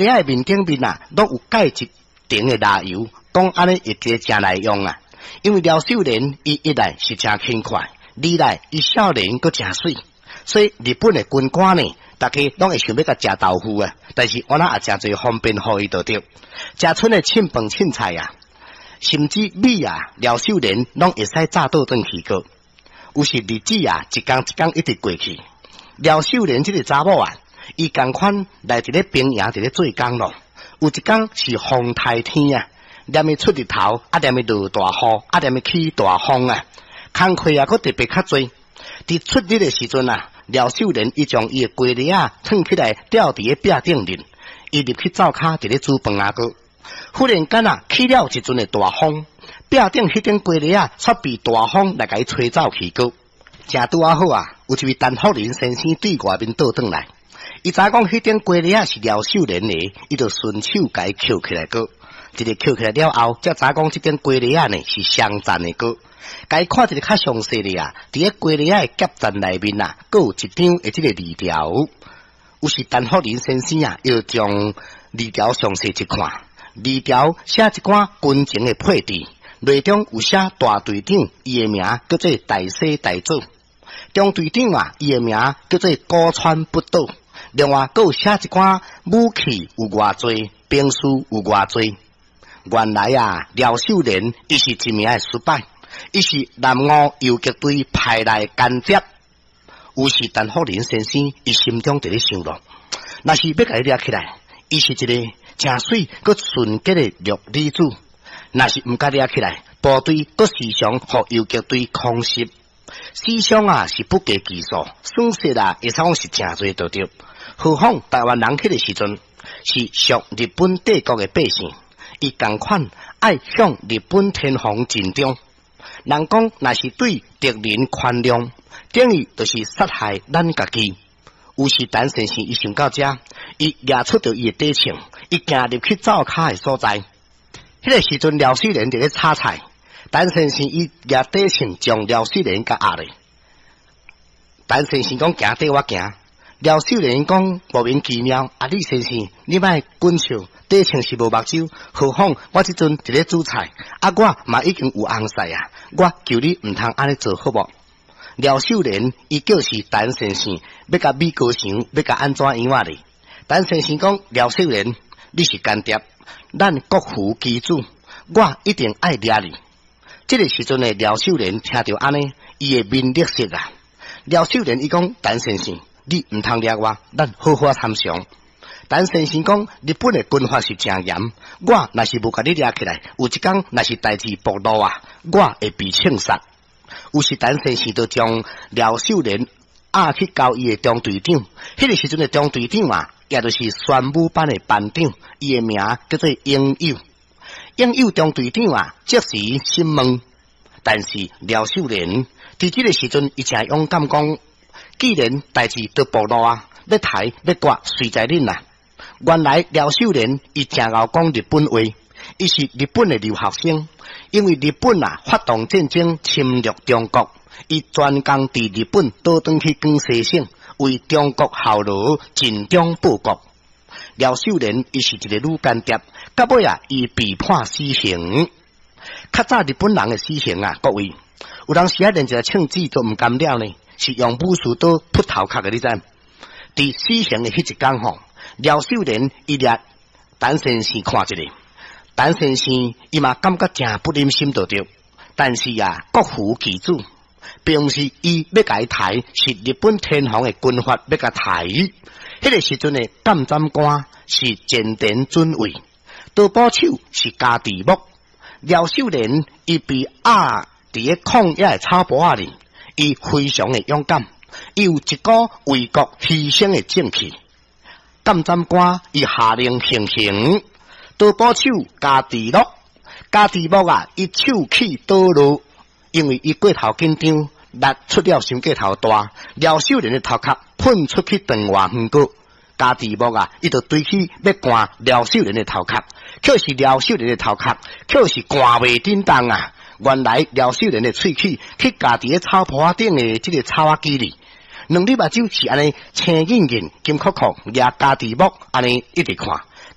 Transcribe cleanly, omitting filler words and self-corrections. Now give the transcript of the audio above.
的面頂面啊，攏有蓋一層的蠟油，講按呢會記誠耐用啊。因為廖秀蓮伊一來是誠輕快，二來伊少年閣誠媠，所以日本的軍官呢，逐家攏會想欲共食豆腐啊。但是我那也誠濟方便予伊就對，食賰的凊飯凊菜啊，甚至米啊，廖秀蓮攏會使炸倒轉去過。有時日子啊，一工一工一直過去。廖秀蓮這個查某啊，伊仝款來佇咧兵營佇咧做工咯。有一工是風颱天啊，連伊出日頭，啊連伊落大雨，啊連伊起大風啊，工課啊，閣特別較濟。佇出日的時陣啊，廖秀蓮伊將伊的雞螺仔藏起來，吊佇咧壁頂面，伊入去灶跤佇咧煮飯仔閣。忽然間啊，起了一陣的大風，壁頂彼頂雞螺仔煞被大風來共伊吹走去閣。正拄仔好啊，有一位陳福林先生對外面倒轉來，伊知影講彼頂雞螺仔是廖秀蓮的，伊就順手共伊抾起來閣。一个抾起來了後，才知影講這頂雞螺仔呢是雙層的閣。共伊看一个較詳細的啊，佇个雞螺仔的夾層內面啊，閣有一張的這个字條。有時陳福林先生啊，又將字條詳細一看，字條寫一寡軍情的配置，內中有寫大隊長，伊的名叫做大西大佐；中隊長啊，伊的名叫做古川不倒。另外，閣有寫一寡武器有偌濟，兵士有偌濟。原來啊，廖秀蓮伊是一名的失敗，伊是南澳游擊隊派來間諜。有時陳福林先生伊心中佇咧想咯，若是欲共伊掠起來，伊是一个誠媠閣純潔的弱女子；若是毋共掠起來，部隊閣時常予游擊隊空襲，死傷啊是不計其數，損失啊會使講是誠濟就對。何況台灣人彼个時陣是屬日本帝國的百姓，伊仝款愛向日本天皇盡忠。人講若是對敵人寬容，等於就是殺害咱家己。有時陳先生伊想到這，伊掠出著伊的短槍，伊行入去灶跤的所在。彼个時陣廖秀蓮佇咧炒菜，陳先生伊掠短槍將廖秀蓮共壓咧。陳先生講行綴我行，廖秀蓮講莫名其妙，啊你先生你莫滾笑，短槍是無目睭，何況我這陣佇咧煮菜，啊我嘛已經有翁婿啊，我求你毋通按呢做好無？廖秀蓮伊叫是陳先生欲共比高牆，欲共按怎樣仔咧？陳先生講廖秀蓮，你是間諜，咱國父之子，我一定愛掠你。這个時陣的廖秀蓮聽著按呢，伊的面綠色啊。廖秀蓮伊講陳先生，你毋通掠我，咱好好參詳。陳先生講日本的軍法是誠嚴，我若是無共你掠起來，有一工若是代誌暴露啊，我會被槍殺。有時陳先生就將廖秀蓮押去交伊的中隊長，彼个時陣的中隊長啊，也就是宣武班的班長，伊的名叫做英友。英友中隊長啊，即時審問，但是廖秀蓮佇這个時陣，伊誠勇敢講，既然代誌都暴露啊，欲刣欲割隨在恁啦。原來廖秀蓮伊誠𠢕講日本話，伊是日本的留學生，因為日本啊發動戰爭侵略中國，伊專工佇日本倒轉去廣西省，為中國效勞，盡忠報國。廖秀蓮伊是一个女間諜，到尾啊伊被判死刑。較早日本人的死刑啊，各位有當時啊連一个槍子都毋甘了呢，是用武士刀噗頭殼的，你知？佇死刑的彼一工吼，廖秀蓮伊掠陳先生看一下，陳先生伊嘛感覺誠不忍心就對，但是啊，國父之子，並毋是伊欲共伊刣，是日本天皇的軍法欲共刣。彼个時陣的監斬官是前田准尉，刀斧手是加治木。廖秀蓮伊被壓佇个曠野的草坡仔裡，伊非常的勇敢，伊有一股為國犧牲的正氣。監斬官伊下令行刑，刀斧手加治木，加治木啊，伊手起刀落，因為伊過頭緊張，力出了傷過頭大，廖秀蓮的頭殼噴出去長偌遠閣。加治木啊，伊就追去欲捾廖秀蓮的頭殼，卻是廖秀蓮的頭殼，卻是捾袂振動啊！原來廖秀蓮的喙齒去咬佇个草坡頂的這个草仔枝裡，兩粒目睭是按呢青隱隱、金硞硞，掠加治木按呢一直看。